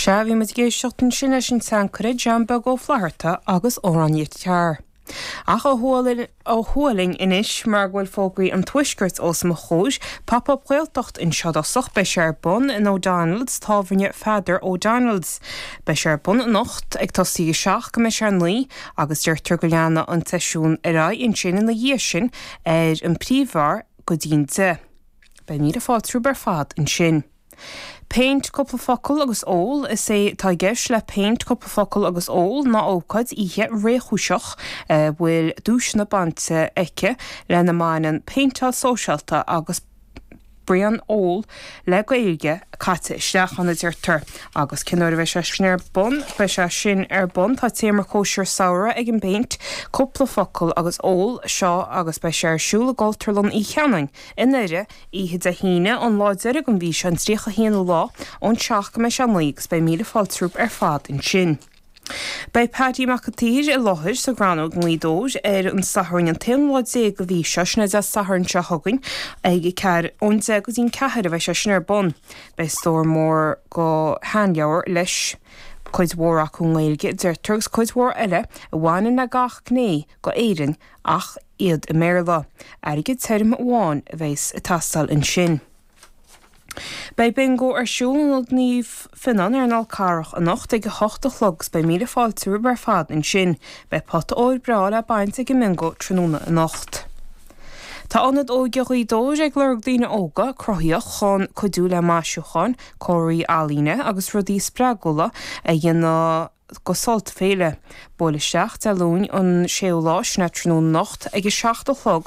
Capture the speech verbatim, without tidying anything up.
Sea, bhí muid ag éisteacht ansin leis an tseanchara John Beag Ó Flatharta agus amhránaíocht Chearr. Ach ó thuaidh linn anois mar go bhfuil fógraí an tuaiscirt os mo chomhair, Pop-up Gaeltacht anseo i dtosach, beidh sé ar bun in O'Donnell's, tábhairne Pheadair O'Donnell's. Beidh sé ar bun anocht ag tosaí a seacht go mbeidh sé a naoi agus deirtear go leanfaidh an seisiún ar aghaidh ansin ina dhiaidh sin ar an príomhbheár go dtí'n deich. Beidh míle fáilte romhaibh ar fad ansin. Péint cúpla focal agus ól Is é atá i gceist le péint cúpla focal agus ól ná ócáid oíche réchúiseach a bhfuil duaiseanna bainte aici lena mbaineann péinteáil sóisialta agus braon óil le Gaeilge caite isteach ann a deirtear. Agus cén uair a bheidh sé sin ar bun beidh sé sin ar bun tá téama cóisir samhraidh ag an bpéint cúpla focal agus ól seo agus beidh sé ar siúl i gCultúrlann Uí Cheanainn i nDoire oíche Dé hAoine an lá deiridh den mhí seo an tríocha haonú lá ón seacht go mbeidh sé naoi agus beidh míle fáilte romhaibh ar fad ansin. Beidh Paddy Mac an tSaoir i láthair sa Ghrannóg i nGaoth Dobhair ar an Satharn an t-aonú lá déag den mhí seo sin é Dé Sathairn seo chugainn ag ceathair ón deich go dtí'n ceathair a bheidh sé sin ar bun. Beidh stór mór de sheanleabhair leis cuid mhór acu i nGaeilge deirtear agus cuid mhór eile a bhaineann le gach gné d'Éirinn ach iad i mBéarla. Airgead tirim amháin a bheas ag teastáil ansin. Beidh bingo ar siúl in Ionad Naomh Fionnán ar an Fhál Carrach anocht ag a hocht a chlog agus beidh míle fáilte romhaibh ar fad ansin. Beidh pota óir breá le baint ag an mbingo tráthnóna anocht. Tá Ionad Óige Ghaoth Dobhair ag lorg daoine óga cruthaíoch chun cuidiú le maisiúcháin, comharthaí ealaíne agus rudaí spreagúla a dhéanamh go Sult Féile. Buail isteach Dé Luain an séú lá sin tráthnóna anocht ag a seacht a chlog